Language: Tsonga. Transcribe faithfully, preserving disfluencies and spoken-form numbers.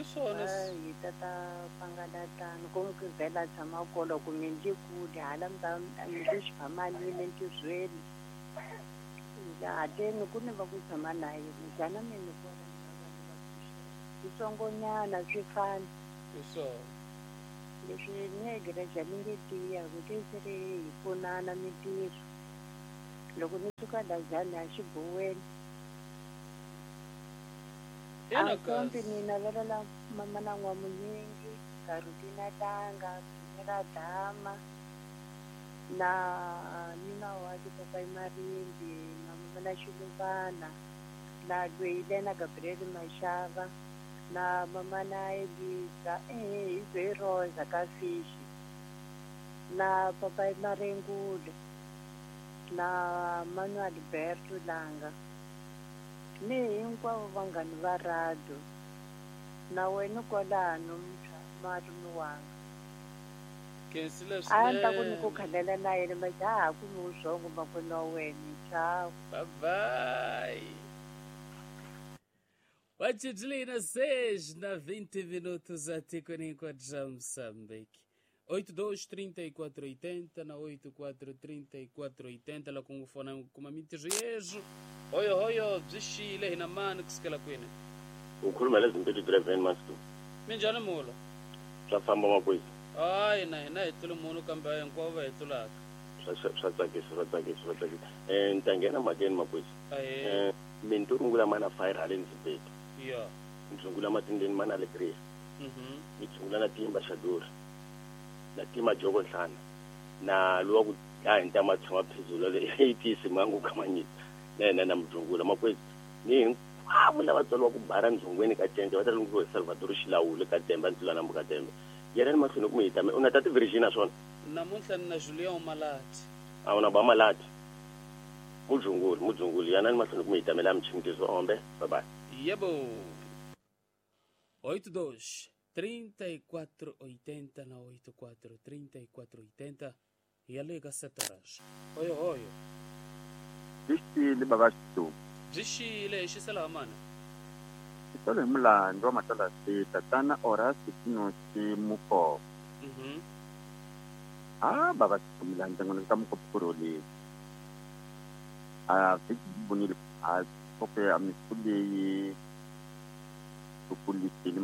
I swona hi tata pangalatano ku mi vhela tshama kolo ku mi ndzi kule hala mi ta mi le xiphamanini entirhweni hateni ku ni va ku tshama na yena njhani mi ni vona switsongonyana swi fana i swona leswi ni ni nge tiya ku ke se ri hi pfunana mintirho loko ni suka la njhani a xibuweni ina kombi kasi ni navelela mama na n'wamunyingi Carolina Tanga Dumela Dama na nuna wa Papai Marimbi na mama na Xiluvana na Lweilena Gabriel Mashava na mama na Elisa eh hi ze Rosa ka Fishi na Papai Marengule na Manuel Alberto Langa ni hinkwavo vanghani va radio na wena kwalano malume wanga khensile a ni ta ku ni ku swinene khalela na yena ma xa ha kumi vurhongo makwenu wa wena ciao. Bye bye. Watidlina seis na vinte minutos atikweni hinkwaro ra Moçambique. oito dois trinta e quatro oitenta na oito quatro trinta e quatro oitenta la ku fona kuma mintirho hoyo hoyo byi xile hina mani kusukela kwini ukhuluma lezimpilo driven master minjhani mulo swa famba makwezi hayi na hina hi tlule munhu kambe hinkwavo va hi tlulaka swa swa tsakisa swa tsakisa swa tsakisa um ni ta nghena mhakeni makwezi ahee um mi rungula mana fire haleni zibeti ya ni rungula matindeni mana alegria mhm ni rungula na timba xaduri na tima joko nhlana na luwa ku dlaya ntama tshama phezulu le eighties mangu kamanyisa na yena na mudlungula makwezi ni hinkwavo lava tswariwa ku bara ndzungweni ka cence va ta lungiwa hi Salvador Xilawule ka Temba ntlula nambu ka Temba yena ni mahlweni ku mi hi tame u na tati Virginia swona namuntlha ni na Julian Malati a wu na ba Malati mudzunguli mudzunguli yana ni mahlweni ku mi hi tamela mchimtiso ombe bye bye. Yebo. oito dois trinta e quatro oitenta na oito quatro trinta e quatro oitenta e a liga sete horas. Oyo oyo. Bixile baba Xitu. Byi xile xisela mana. Xitolo hi mulandzu wa Matalasi tatana Horace Tinosi Mukoko. Mhm. Ah baba Xitu milandzu ngona ka mukopkuroli. Ah vhiki bonile a kope a misuleyi kukulisile